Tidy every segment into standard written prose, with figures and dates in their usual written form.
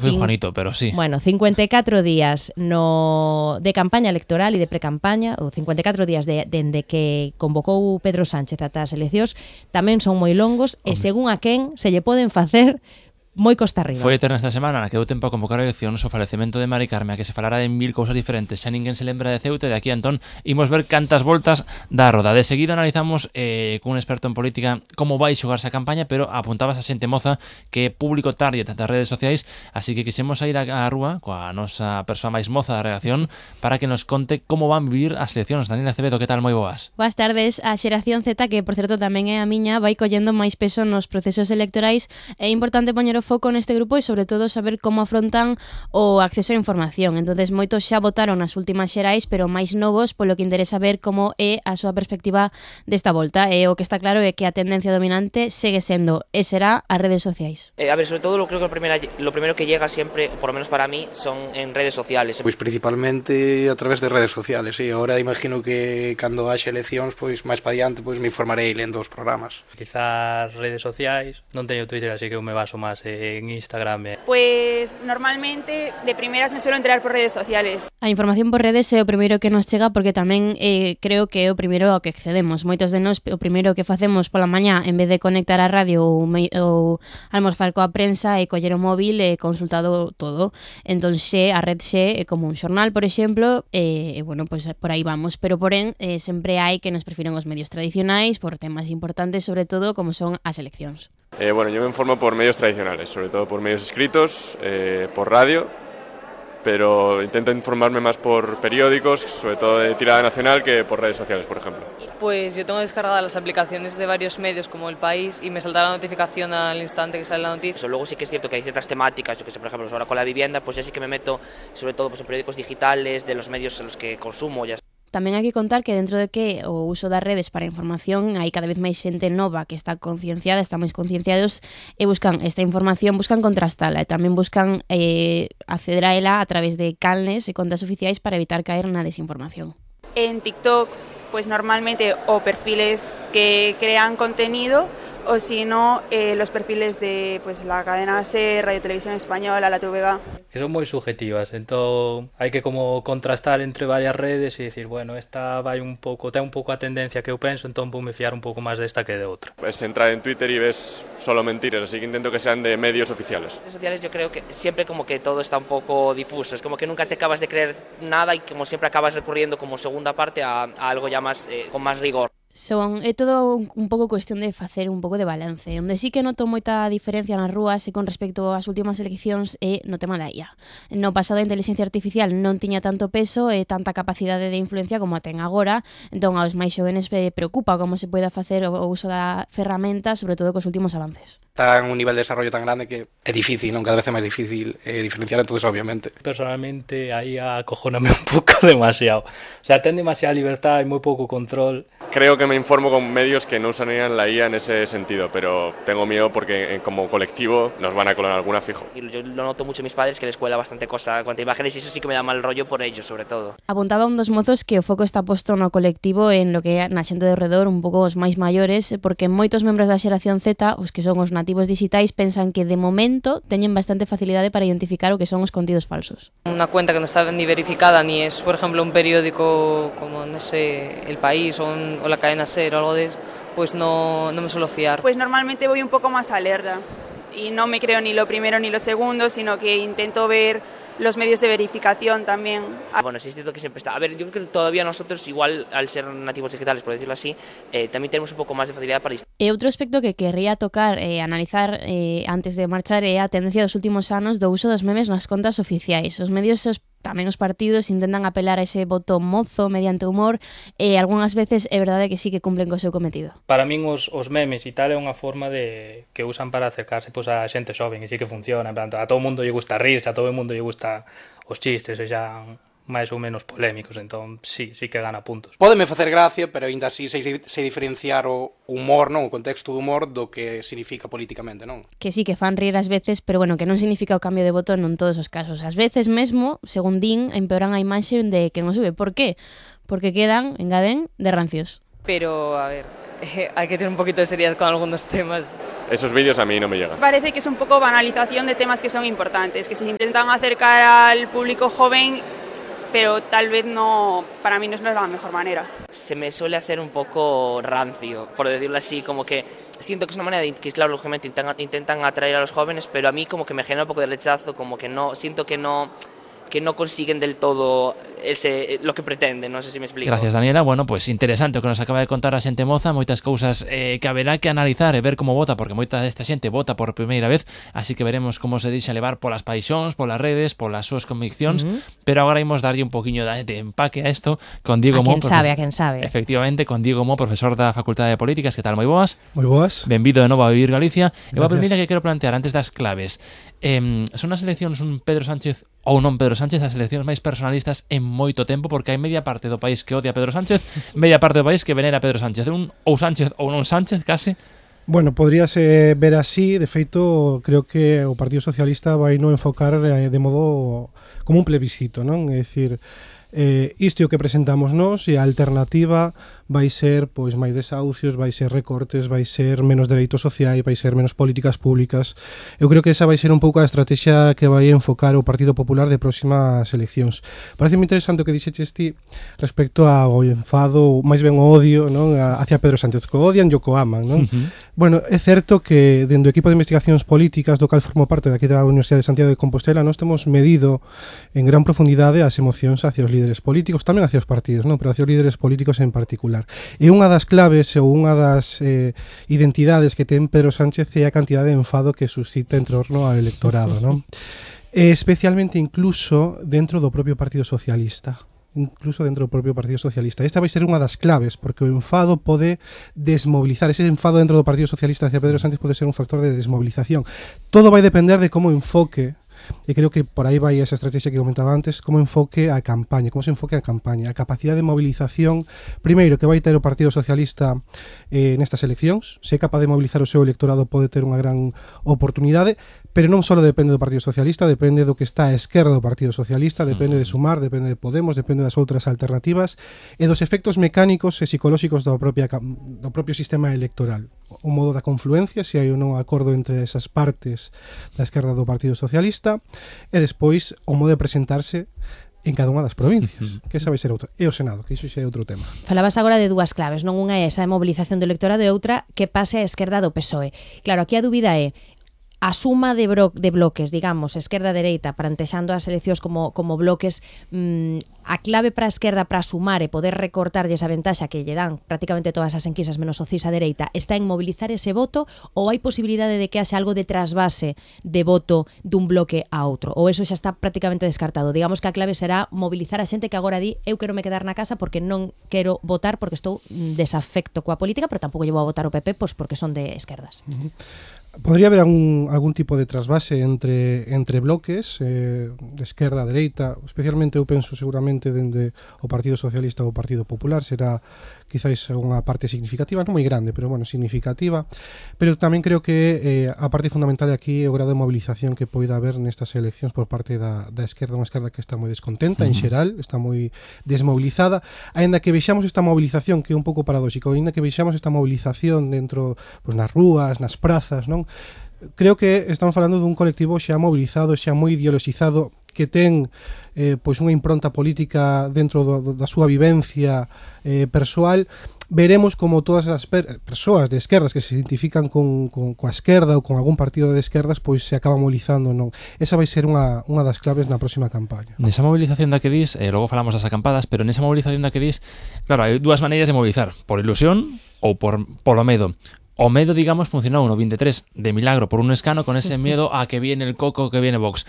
Foi Juanito, pero sí. Bueno, 54 días de campaña electoral e de precampaña, ou 54 días dende que convocou Pedro Sánchez ata as eleccións, tamén son moi longos e según a quen se lle poden facer moi costa arriba. Foi eterna esta semana na que deu tempo a convocar eleccións o falecemento de Mari Carme, a que se falara de 1000 cousas diferentes, xa ninguén se lembra de Ceuta, e de aquí a entón imos ver cantas voltas dá a roda. De seguida analizamos cun experto en política como vai xogarse a campaña, pero apuntabas a xente moza que é público target das redes sociais, así que quixemos ir á rúa coa nosa persoa máis moza da redacción para que nos conte como van vivir as eleccións. Daniela Acevedo, que tal? Moi boas. Boas tardes. A xeración Z, que por certo tamén é a miña, vai collendo máis peso nos procesos electorais. É importante poñer o foco neste grupo e sobre todo saber como afrontan o acceso á información. Entonces moitos xa votaron nas últimas xerais, pero máis novos, polo que interesa ver como é a súa perspectiva desta volta. E o que está claro é que a tendencia dominante segue sendo e será as redes sociais. A ver, sobre todo creo que lo primero que llega siempre, por lo menos para mí, son en redes sociales. Pois principalmente a través de redes sociales, sí. Ahora imagino que cando haxe eleccións, pois máis pa diante, pois me informarei lendo os programas. Quizás redes sociais, non teño Twitter, así que eu me baso máis en Instagram. Pues normalmente de primeras me suelo enterar por redes sociales. A información por redes é o primeiro que nos chega porque tamén creo que é o primeiro ao que accedemos. Moitos de nós o primeiro que facemos pola mañá, en vez de conectar a radio ou almorzar coa prensa, é coller o móvil e consultado todo. Entón a red é como un xornal, por exemplo, e bueno, pues por aí vamos. Pero porén, sempre hai que nos prefiren os medios tradicionais por temas importantes, sobre todo como son as eleccións. Bueno, yo me informo por medios tradicionales, sobre todo por medios escritos, por radio, pero intento informarme más por periódicos, sobre todo de tirada nacional, que por redes sociales, por ejemplo. Pues yo tengo descargadas las aplicaciones de varios medios como El País y me salta la notificación al instante que sale la noticia. Luego sí que es cierto que hay ciertas temáticas, yo que sé, por ejemplo, ahora con la vivienda, pues ya sí que me meto sobre todo pues, en periódicos digitales, de los medios en los que consumo. Ya. Tamén hai que contar que dentro de que o uso das redes para a información hai cada vez máis xente nova que está concienciada, está máis concienciados e buscan esta información, buscan contrastala e tamén buscan acceder a ela a través de canles e contas oficiais para evitar caer na desinformación. En TikTok, pues normalmente o perfiles que crean contenido o si no, los perfiles de pues la cadena SER, Radio Televisión Española, la TVG. Que son moi subjetivas, entón hai que como contrastar entre varias redes e dicir, bueno, esta vai un pouco, ten un pouco a tendencia que eu penso, entón vou me fiar un pouco máis desta que de outra. Pues entrar en Twitter y ves solo mentiras, así que intento que sean de medios oficiales. En redes sociales yo creo que siempre como que todo está un poco difuso, es como que nunca te acabas de creer nada y como siempre acabas recurriendo como segunda parte a algo ya más con más rigor. É todo un pouco cuestión de facer un pouco de balance. Onde sí que noto moita diferencia nas rúas e con respecto ás últimas eleccións é no tema da IA. No pasado a inteligencia artificial non tiña tanto peso e tanta capacidade de influencia como a ten agora, entón aos máis xovenes preocupa como se poida facer o uso da ferramenta, sobre todo cos últimos avances. Está en un nivel de desarrollo tan grande que é difícil, non? Cada vez é máis difícil diferenciar, entonces obviamente. Personalmente aí acojóname un pouco demasiado. O sea, ten demasiada libertad e moi pouco control. Creo que me informo con medios que no usarían la IA en ese sentido, pero tengo miedo porque como colectivo nos van a colar alguna fijo. Y yo lo noto mucho en mis padres que les cuela bastante cosa cuanto a imágenes y eso sí que me da mal rollo por ellos, sobre todo. Apuntaba un dos mozos que o foco está posto no colectivo en lo que é na xente de redor, un pouco os máis maiores, porque moitos membros da xeración Z, os que son os nativos digitais, pensan que de momento teñen bastante facilidade para identificar o que son os contidos falsos. Una cuenta que no está ni verificada ni es, por ejemplo, un periódico como, no sé, El País o la cadena SER o algo de eso, pues no me suelo fiar. Pues normalmente voy un poco más alerta y no me creo ni lo primero ni lo segundo, sino que intento ver los medios de verificación también. Bueno, sí es cierto que siempre está. A ver, yo creo que todavía nosotros, igual al ser nativos digitales, por decirlo así, también tenemos un poco más de facilidad para distinguir. E outro aspecto que querría tocar e analizar antes de marchar é a tendencia dos últimos anos do uso dos memes nas contas oficiais. Os medios tamén os partidos intentan apelar a ese voto mozo mediante humor e algunhas veces é verdade que sí que cumplen co seu cometido. Para min os memes e tal é unha forma de que usan para acercarse pues, a xente xoven e sí que funciona. A todo o mundo lle gusta rirse, a todo o mundo lle gusta os chistes e xa máis ou menos polémicos, entón sí que gana puntos. Pódeme facer gracia, pero aínda así sei diferenciar o humor, non, o contexto do humor do que significa políticamente, non? Que sí que fan rir ás veces, pero bueno, que non significa o cambio de voto en todos os casos. Ás veces mesmo, según din, empeoran a imaxe de quen o sube. Por qué? Porque quedan, engaden, de rancios. Pero, a ver, hay que tener un poquito de seriedad con algunos temas. Esos vídeos a mí no me llegan. Parece que es un poco banalización de temas que son importantes, que se intentan acercar al público joven, pero tal vez no, para mí no es la mejor manera. Se me suele hacer un poco rancio, por decirlo así, como que siento que es una manera de que, claro, lógicamente intentan atraer a los jóvenes, pero a mí como que me genera un poco de rechazo, como que no, siento que no consiguen del todo lo que pretenden, non sei se me explico. Gracias, Daniela. Bueno, pues interesante o que nos acaba de contar a xente moza, moitas cousas que haberá que analizar e ver como vota, porque moita desta xente vota por primeira vez, así que veremos como se deixa levar polas paixóns, polas redes, polas súas conviccións, pero agora imos darlle un poquinho de empaque a isto con Diego Mo. A quen sabe. Efectivamente, con Diego Mo, profesor da Facultade de Políticas. Que tal, moi boas? Moi boas. Benvido de novo a Vivir Galicia. E a primeira que quero plantear antes das claves, son as eleccións un Pedro Sánchez ou non Pedro Sánchez as eleccións máis personalistas en moito tempo, porque hai media parte do país que odia a Pedro Sánchez, media parte do país que venera a Pedro Sánchez, un ou Sánchez ou non Sánchez, case. Bueno, podríase ver así. De feito, creo que o Partido Socialista vai non enfocar de modo como un plebiscito, non? É dicir, isto é o que presentamos nós, e a alternativa vai ser pois máis desahucios, vai ser recortes, vai ser menos dereitos sociais, vai ser menos políticas públicas. Eu creo que esa vai ser un pouco a estrategia que vai enfocar o Partido Popular de próximas eleccións. Parece moi interesante o que dixeches ti respecto ao enfado, máis ben o odio, non, hacia Pedro Sánchez, que o odian e o que o aman, non? Bueno, é certo que dentro do equipo de investigacións políticas do cal formo parte daqui da Universidade de Santiago de Compostela, nós temos medido en gran profundidade as emocións hacia os líderes políticos, tamén hacia os partidos, non, pero hacia os líderes políticos en particular. E unha das claves ou unha das identidades que ten Pedro Sánchez é a cantidade de enfado que suscita en torno ao electorado, non? Especialmente incluso dentro do propio Partido Socialista. Esta vai ser unha das claves, porque o enfado pode desmobilizar. Ese enfado dentro do Partido Socialista hacia Pedro Sánchez pode ser un factor de desmovilización. Todo vai depender de como enfoque, e creo que por aí vai esa estrategia que comentaba antes, como enfoque a campaña, a capacidade de movilización, primeiro, que vai ter o Partido Socialista nestas eleccións. Se é capaz de mobilizar o seu electorado, pode ter unha gran oportunidade, pero non só depende do Partido Socialista, depende do que está a esquerda do Partido Socialista, depende de Sumar, depende de Podemos, depende das outras alternativas e dos efectos mecánicos e psicolóxicos do propio sistema electoral. O modo da confluencia, se hai ou non acordo entre esas partes da esquerda do Partido Socialista, e despois o modo de presentarse en cada unha das provincias, que esa vai ser outra. E o Senado, que iso xa é outro tema. Falabas agora de dúas claves, non? Unha é esa mobilización do electorado e outra que pase a esquerda do PSOE. Claro, aquí a dúbida é a suma de bloques, digamos, esquerda-dereita, plantexando as eleccións como bloques, a clave para a esquerda para sumar e poder recortarlle esa ventaxa que lle dan prácticamente todas as enquisas menos o CIS a dereita, está en mobilizar ese voto, ou hai posibilidade de que haxa algo de trasvase de voto dun bloque a outro, ou eso xa está prácticamente descartado? Digamos que a clave será mobilizar a xente que agora di eu quero me quedar na casa porque non quero votar porque estou desafecto coa política, pero tampouco llevo a votar o PP pois porque son de esquerdas. Podría haber algún tipo de trasvase entre bloques de esquerda a dereita, especialmente eu penso seguramente dende o Partido Socialista ou o Partido Popular, será quizáis unha parte significativa, non moi grande, pero bueno, significativa, pero tamén creo que a parte fundamental aquí é o grado de movilización que poida haber nestas eleccións por parte da esquerda, unha esquerda que está moi descontenta en xeral, está moi desmobilizada, aínda que vexamos esta movilización que é un pouco paradóxico, aínda que vexamos esta movilización dentro, pues, nas rúas, nas prazas, non? Creo que estamos falando dun colectivo xa mobilizado, xa moi ideologizado, que ten pois unha impronta política dentro da súa vivencia persoal. Veremos como todas as persoas de esquerdas que se identifican coa esquerda ou con algún partido de esquerdas pois se acaba mobilizando, non? Esa vai ser unha das claves na próxima campaña. Nesa movilización da que dis, logo falamos das acampadas, pero nesa movilización da que dis, claro, hai dúas maneiras de mobilizar, por ilusión ou polo medo. O medo, digamos, funcionou no 23 de milagro por un escano, con ese miedo a que viene el coco, que viene Vox.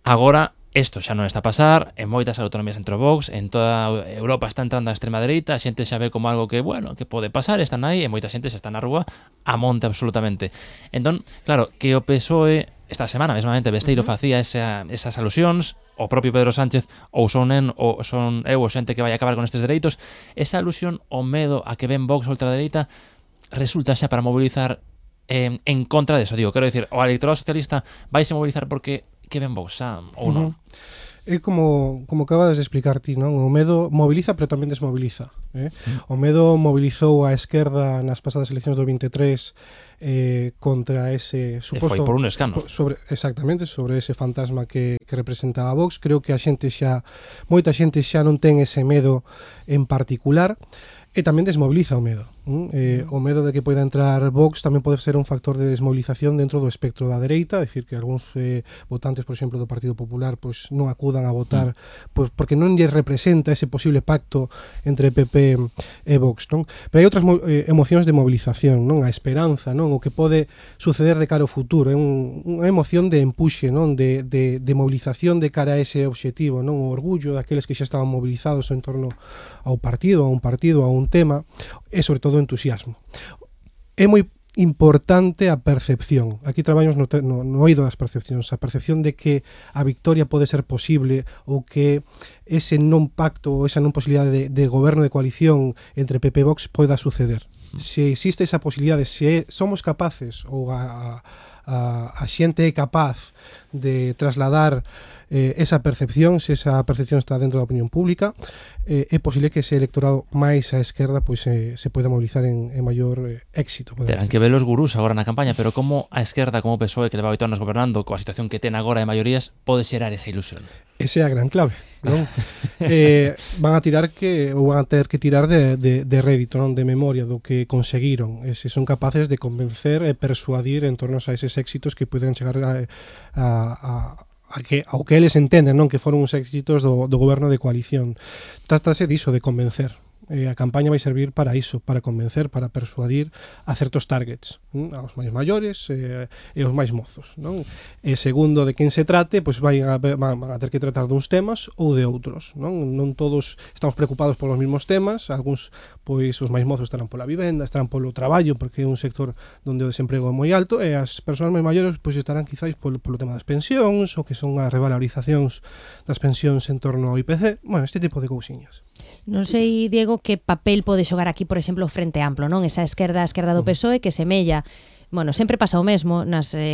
Agora, isto xa non está a pasar, en moitas autonomías entre Vox, en toda Europa está entrando a extrema dereita, a xente xa ve como algo que, bueno, que pode pasar, están aí, e moita xente xa está na rúa a monte absolutamente. Entón, claro, que o PSOE esta semana mesmamente Besteiro facía esas alusións, o propio Pedro Sánchez, ou son eu o xente que vai acabar con estes dereitos, esa alusión ao medo a que ven Vox ultradereita resulta xa para mobilizar en contra deso. Digo, quero dicir, o electorado socialista vaise mobilizar porque que ven Vox ou non? É como acabas de explicar ti, non? O medo moviliza, pero tamén desmoviliza. O medo mobilizou a esquerda nas pasadas eleccións do 23 contra ese suposto... E foi por un escano. Exactamente, sobre ese fantasma que representaba a Vox. Creo que moita xente xa non ten ese medo en particular, e tamén desmoviliza o medo. O medo de que poida entrar Vox tamén pode ser un factor de desmovilización dentro do espectro da dereita, é dicir, que algúns votantes, por exemplo, do Partido Popular pois non acudan a votar pois porque non lles representa ese posible pacto entre PP e Vox, non? Pero hai outras emocións de movilización, non? A esperanza, non? O que pode suceder de cara ao futuro, é unha emoción de empuxe, non? De movilización de cara a ese obxectivo, non? O orgullo daqueles que xa estaban movilizados en torno ao partido, a un tema, e sobre todo o entusiasmo. É moi importante a percepción. Aquí traballamos no oído das percepcións, a percepción de que a victoria pode ser posible ou que ese non pacto ou esa non posibilidade de goberno de coalición entre PP e Vox poida suceder. Se existe esa posibilidade, se somos capaces ou a xente é capaz de trasladar esa percepción, se esa percepción está dentro da opinión pública, é posible que ese electorado máis á esquerda pois se poida mobilizar en maior éxito. Terán que ver os gurús agora na campaña, pero como a esquerda, como o PSOE, que leva 8 anos gobernando, coa situación que ten agora de maiorías, pode xerar esa ilusión? Esa é a gran clave, non? Van a ter que tirar de rédito, non? De memoria do que conseguiron, se son capaces de convencer e persuadir en torno a eses éxitos que poden chegar ao que eles entenden, non? Que foron uns éxitos do goberno de coalición. Trátase diso, de convencer. A campaña vai servir para iso, para convencer, para persuadir a certos targets, aos máis maiores e aos máis mozos, non? E segundo de quen se trate, pois van a ter que tratar duns temas ou de outros, non? Non todos estamos preocupados polos mesmos temas, algúns, pois os máis mozos estarán pola vivenda, estarán polo traballo, porque é un sector onde o desemprego é moi alto, e as persoas máis maiores pois estarán quizáis polo tema das pensións, ou que son as revalorizacións das pensións en torno ao IPC, bueno, este tipo de cousiñas. Non sei, Diego, que papel pode xogar aquí, por exemplo, o Frente Amplo, non? Esa esquerda do PSOE que semella, bueno, sempre pasa o mesmo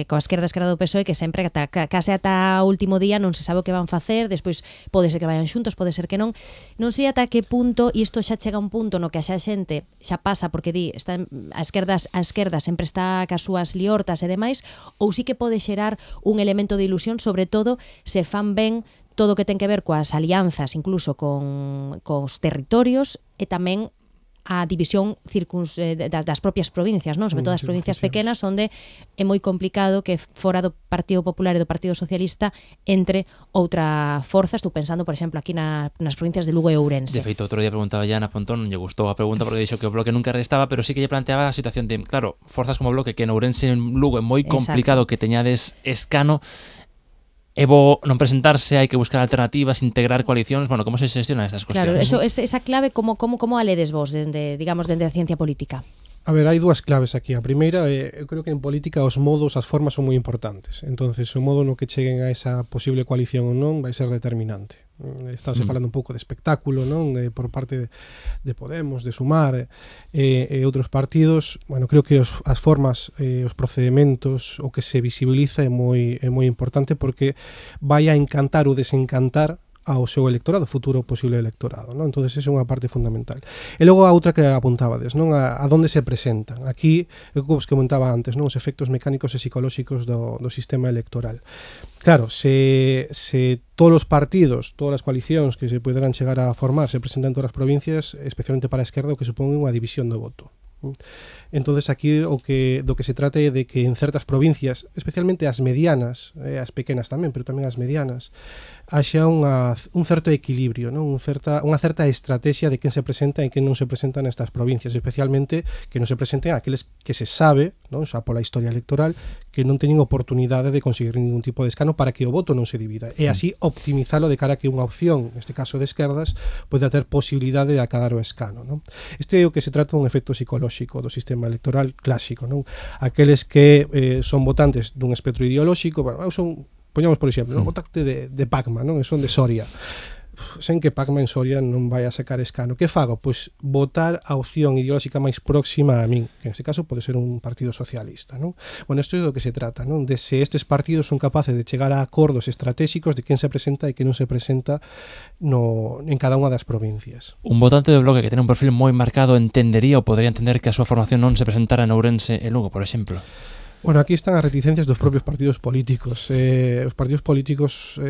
coa esquerda do PSOE, que sempre case ata o último día non se sabe o que van facer, despois pode ser que vayan xuntos, pode ser que non. Non sei ata que punto, e isto xa chega a un punto no que a xente xa pasa, porque a esquerda sempre está cas súas liortas e demais, ou sí que pode xerar un elemento de ilusión, sobre todo se fan ben todo o que ten que ver coas alianzas, incluso cos territorios, e tamén a división das propias provincias, non? Sobre todo as provincias pequenas, onde é moi complicado que fora do Partido Popular e do Partido Socialista entre outra forza. Estou pensando, por exemplo, aquí nas provincias de Lugo e Ourense. De feito, outro día preguntaba ya Ana Pontón, lle gustou a pregunta porque dixo que o Bloque nunca restaba, pero sí que lle planteaba a situación de, claro, forzas como o Bloque, que en Ourense e en Lugo é moi complicado que teñades escano. É bo non presentarse, hai que buscar alternativas, integrar coalicións, bueno, como se xestionan estas cuestións? Claro, esa clave, como a ledes vos, dende a ciencia política? A ver, hai dúas claves aquí. A primeira, eu creo que en política os modos, as formas son moi importantes. Entonces, o modo no que cheguen a esa posible coalición ou non vai ser determinante. Estáse falando un pouco de espectáculo, non? Por parte de Podemos, de Sumar e outros partidos. Bueno, creo que as formas, os procedementos, o que se visibiliza é moi importante, porque vai a encantar ou desencantar ao seu electorado, futuro posible electorado, non? Entonces, esa é unha parte fundamental. E logo a outra que apuntábades, non? A donde se presentan. Aquí, o que vos comentaba antes, non? Os efectos mecánicos e psicolóxicos do sistema electoral. Claro, se todos os partidos, todas as coalicións que se poderán chegar a formar se presentan en todas as provincias, especialmente para a esquerda, o que supón unha división do voto. Entonces aquí do que se trata é de que en certas provincias, especialmente as medianas, as pequenas tamén, pero tamén as medianas, haxa un certo equilibrio, non? Unha certa estrategia de quen se presenta e quen non se presenta nestas provincias, especialmente que non se presenten aqueles que se sabe, non? Xa pola historia electoral, que non teñen oportunidade de conseguir ningún tipo de escano para que o voto non se divida, e así optimizalo de cara a que unha opción, neste caso de esquerdas, poida ter posibilidade de acadar o escano, non? Este é o que se trata dun efecto psicolóxico do sistema electoral clásico, non? Aqueles que son votantes dun espectro ideolóxico, bueno, eu son, poñamos por exemplo, votante de Pacma, non? Son de Soria. sen que Pacma en Soria non vai a sacar escano. Que fago? Pois votar a opción ideolóxica máis próxima a min, que neste caso pode ser un partido socialista, non? Bueno, isto é do que se trata, non? De se estes partidos son capaces de chegar a acordos estratégicos de quen se presenta e quen non se presenta en cada unha das provincias. Un votante do Bloque que ten un perfil moi marcado entendería ou podría entender que a súa formación non se presentara en Ourense e Lugo, por exemplo. Bueno, aquí están as reticencias dos propios partidos políticos. Os partidos políticos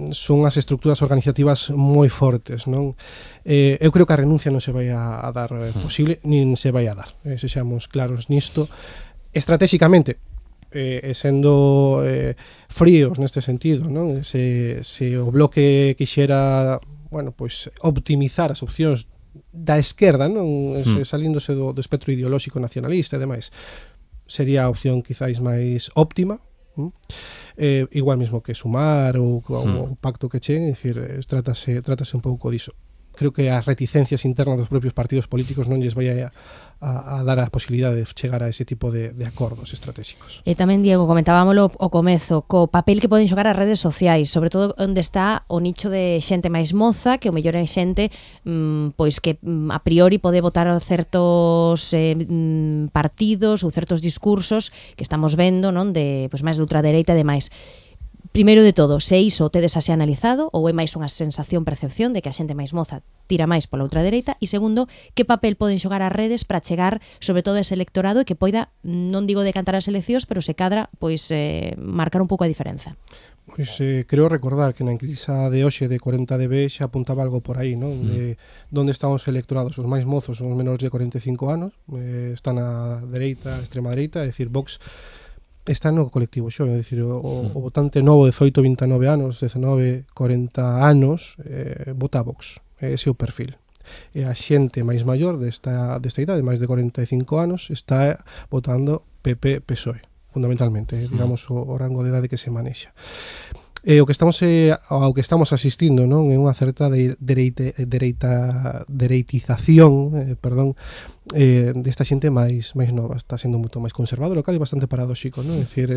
son as estructuras organizativas moi fortes, non? Eu creo que a renuncia non se vai a dar posible, nin se vai a dar, sexamos claros nisto. Estratégicamente, sendo fríos neste sentido, non? Se o Bloque quixera, bueno, pois optimizar as opcións da esquerda, non? Salíndose do espectro ideolóxico nacionalista e demais, sería a opción quizáis máis óptima, igual mesmo que Sumar ou o pacto que chen, é dicir, trátase un pouco diso. Creo que as reticencias internas dos propios partidos políticos non lles vai a dar a posibilidade de chegar a ese tipo de acordos estratégicos. E tamén, Diego, comentábamolo ao comezo, co papel que poden xogar as redes sociais, sobre todo onde está o nicho de xente máis moza, que o mellor é xente pois que a priori pode votar certos partidos ou certos discursos que estamos vendo, non, de pois máis de ultradereita e demais. Primeiro de todo, se iso tedes así analizado ou é máis unha sensación, percepción de que a xente máis moza tira máis pola ultradereita, e segundo, que papel poden xogar as redes para chegar sobre todo ese electorado e que poida, non digo decantar as eleccións, pero se cadra, pois marcar un pouco a diferenza. Pois creo recordar que na enquisa de hoxe de 40DB xa apuntaba algo por aí, non? De onde están os electorados, os máis mozos, os menores de 45 anos, están a dereita, a extrema dereita, é dicir, Vox está no colectivo xo, é dicir, o votante novo de 18, 29 anos, 19, 40 anos, vota Vox, ese é o perfil. E a xente máis maior desta idade, máis de 45 anos, está votando PP, PSOE, fundamentalmente, digamos, o rango de idade que se manexa. O que estamos asistindo, non, é unha certa dereitización, desta xente máis nova, está sendo moito máis conservador, o cal é bastante paradóxico, non? É dicir,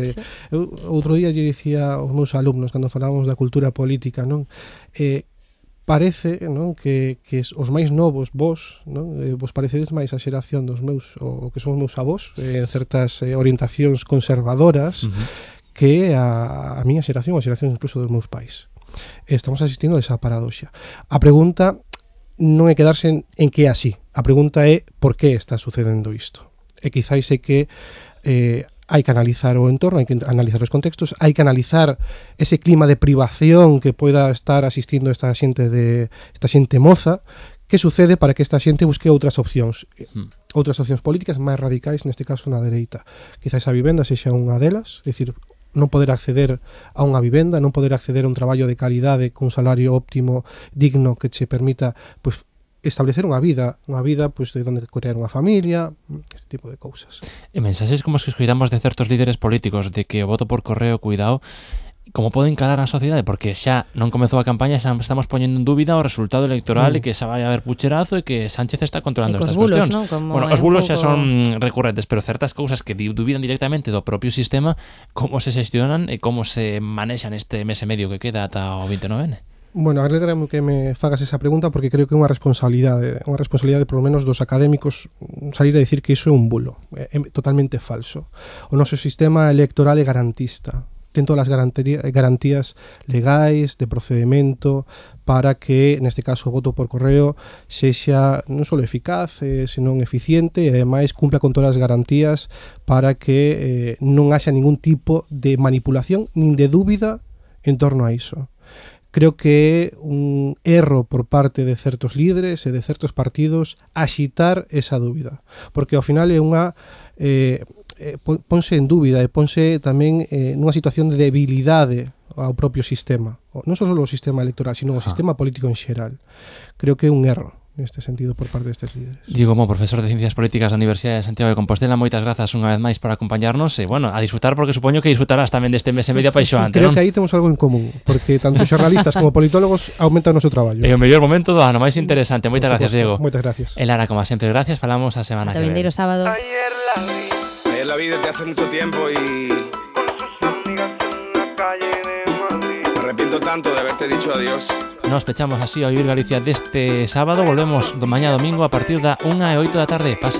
eu outro día lle dicía aos meus alumnos cando falábamos da cultura política, non? Parece, non, que os máis novos vos, non, vos parecedes máis a xeración dos meus, o que son os meus avós, en certas orientacións conservadoras, que a miña xeración, a xeración incluso dos meus pais. Estamos asistindo a esa paradoxa. A pregunta non é quedarse en que é así. A pregunta é por que está sucedendo isto. E quizáis é que hai que analizar o entorno, hai que analizar os contextos, hai que analizar ese clima de privación que poida estar asistindo esta xente moza. Que sucede para que esta xente busque outras opcións políticas máis radicais, neste caso na dereita. Quizáis a vivenda sexa unha delas, é dicir, non poder acceder a unha vivenda, non poder acceder a un traballo de calidade con un salario óptimo, digno, que che permita pois establecer unha vida pois de onde crear unha familia, este tipo de cousas. E mensaxes como os que escoitamos de certos líderes políticos de que o voto por correo, cuidado, como poden calar a sociedade, porque xa non comezou a campaña, xa estamos poñendo en dúbida o resultado electoral e que xa vai a haber pucherazo e que Sánchez está controlando estas cuestións. ¿No? Bueno, os bulos xa son recurrentes, pero certas cousas que dubidan directamente do propio sistema, como se xestionan e como se manexan este mes e medio que queda ata o 29N. Bueno, alegrame que me fagas esa pregunta porque creo que é unha responsabilidade por lo menos dos académicos salir a dicir que iso é un bulo, é totalmente falso. O noso sistema electoral é garantista, ten todas as garantías legais de procedimento para que, neste caso, o voto por correo sexa non só eficaz, senón eficiente e, ademais, cumpla con todas as garantías para que non haxa ningún tipo de manipulación nin de dúbida en torno a iso. Creo que é un erro por parte de certos líderes e de certos partidos axitar esa dúbida, porque ao final é unha ponse en dúbida e ponse tamén nunha situación de debilidade ao propio sistema, non só o sistema electoral, sino o sistema político en xeral. Creo que é un erro neste sentido por parte destes líderes. Diego Mo, profesor de Ciencias Políticas da Universidade de Santiago de Compostela, moitas grazas unha vez máis por acompañarnos e, bueno, a disfrutar, porque supoño que disfrutarás tamén deste mes e medio apaixoante, Creo non? que aí temos algo en común, porque tanto xornalistas como politólogos aumentan o noso traballo. É o mellor momento do ano, máis interesante. Moitas gracias, Diego. Moitas gracias. E Lara, como sempre, gracias. Falamos a semana que ven. Vindeiro sábado. Ayer la vi desde hace mucho tiempo y me arrepiento tanto de haberte dicho adiós. Nos pechamos así a Vivir Galicia deste sábado. Volvemos mañá domingo a partir da 1:08 da tarde. Pase